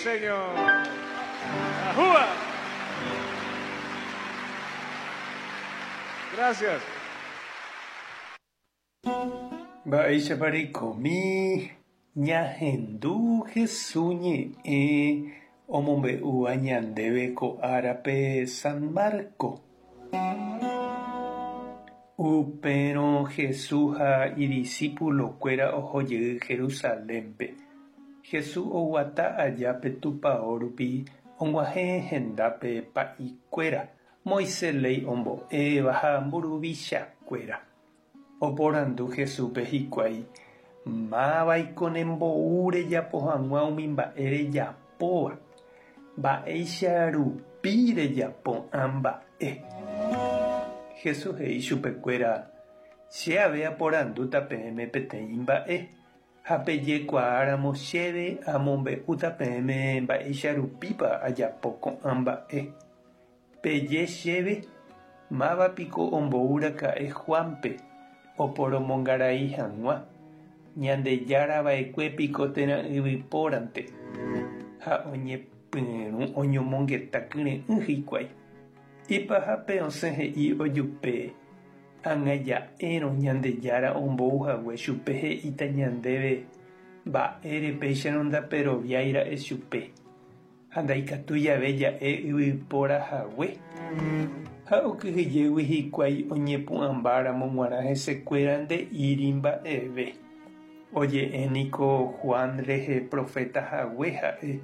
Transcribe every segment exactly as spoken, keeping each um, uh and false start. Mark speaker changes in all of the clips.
Speaker 1: Señor. ¡Ajúa! Gracias.
Speaker 2: Mba'éichapa reikomi ñahendu Jesús ñe'ẽ omombe'úva ñandéve ko árape San Marco. Upérõ Jesús ha idiscipulokuéra ohojey Jerusalénpe. Jesús oguata aja pe tupão rupi og̃uahẽ hendápe pa'ikuéra, Moisés léi ombo'éva ha mburuvichakuéra. Oporandu Jesúspe hikuái mávaiko nembou rejapo hag̃ua umi mba'e rejapóva, mba'éicha rupi rejapo ã mba'e. Jesús he'i chupekuéra che ave aporandúta peẽme peteĩ mba'e ha pejekuaáramo chéve amombe'úta peẽme mba'éicha rupípa ajapo ko'ã mba'e. Peje chéve mávapiko ombouraka'e Juanpe oporomongarai hag̃ua, Ñandejárava'ekuépiko térã yvypórante ha oñepyrũ oñomongeta kyre'ỹ hikuái. Ipahápe osẽ he'i ojupe ág̃a ja'érõ Ñandejára ombouhague chupe he'íta ñandéve mba'ére péicharõ ndaperoviáira'e chupe ha ndaikatúi jave ja'e yvyporahague ha okyhyjégui hikuái oñepu'ãmbáramo g̃uarã hesekuéra nde'íri mba'eve. Oje'éniko Juan rehe profetahague ha'e.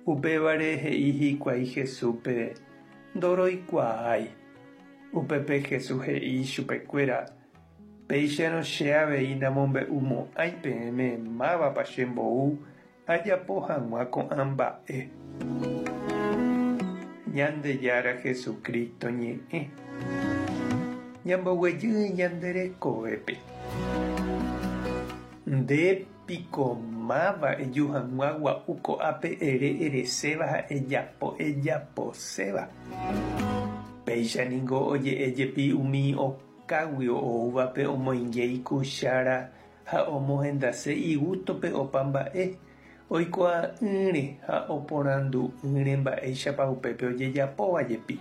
Speaker 2: Upévare he'i hikuái Jesúspe ndoroikuaái. Upépe Jesús he'i chupekuéra péicharõ che avei namombe'umo'ãi peẽme mávapa chembou ajapo hag̃ua ko'ã mba'e. Ñandejára Jesucristo ñe'ẽ. Ñamboguejy ñande rekovépe. Ndépiko máva eju hag̃ua gua'u ko'ápe ere ereséva ha ejapo ejaposéva. Péicha niko oje'éjepi umi okáguio oúvape omoinge ikuchára ha omohendase igústope opa mba'e oikuaa'ỹre ha oporandu'ỹre mba'éichapa upépe ojejapóvajepi.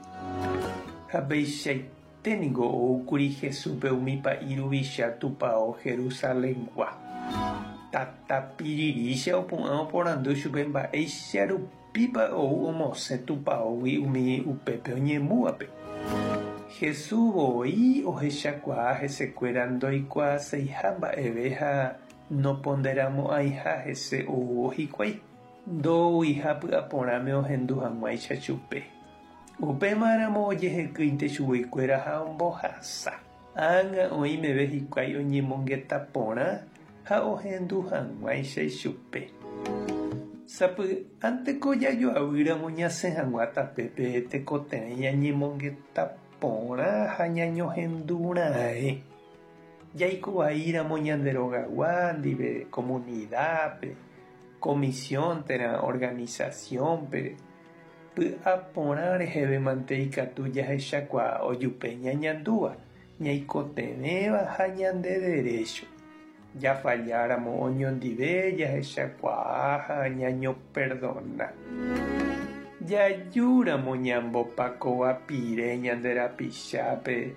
Speaker 2: Ha peichaite niko oúkuri Jesúspe umi pa'i ruvicha tupão Jerusalengua. Tatapirirícha opu'ã oporandu chupe mba'éicha rupípa ou omosẽ tupãógui umi upépe oñemúvape. Jesús voi ohechakuaa hesekuéra ndoikuaaseiha mba'eve ha noponderamo'ãiha hese oúvo hikuái. Ndouiha py'aporãme ohendu hag̃uáicha chupe. Upémaramo ojehekýinte chuguikuéra ha ombohasa. Ág̃a oĩmeve hikuái oñemongeta porã ha ohendu hag̃uáicha ichupe. Sapy'ánteko jajoavýramo ñasẽ hag̃ua tapépe tekotevẽ ñañemongeta porã ha ñañohendurãe. Jaikovaíramo ñande rogagua ndive comunidad-pe, comisión térã organización-pe, py'aporã reheve mante ikatu jahechakuaa ojupe ñañandúva, ñaikotevẽva ha ñande derecho. Jafalláramo oñondive jahechakuaa ha ñañoperdona. Jajúramo ñambopakovapire ñande rapichápe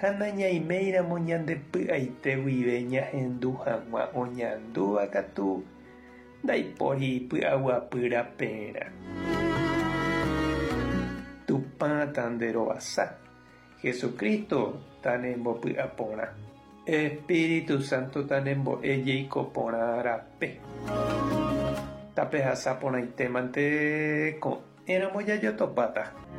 Speaker 2: ha nañaiméiramo ñande py'aite guive ñahendu hag̃ua oñandúva katu ndaipóri py'aguapy raperã. Tupã tanderovasa. Jesucristo tanembopy'aporã. Espíritu Santo tanembo'e jeiko porã rape. Tapehasa porãite mante ko'ẽramo jajotopáta.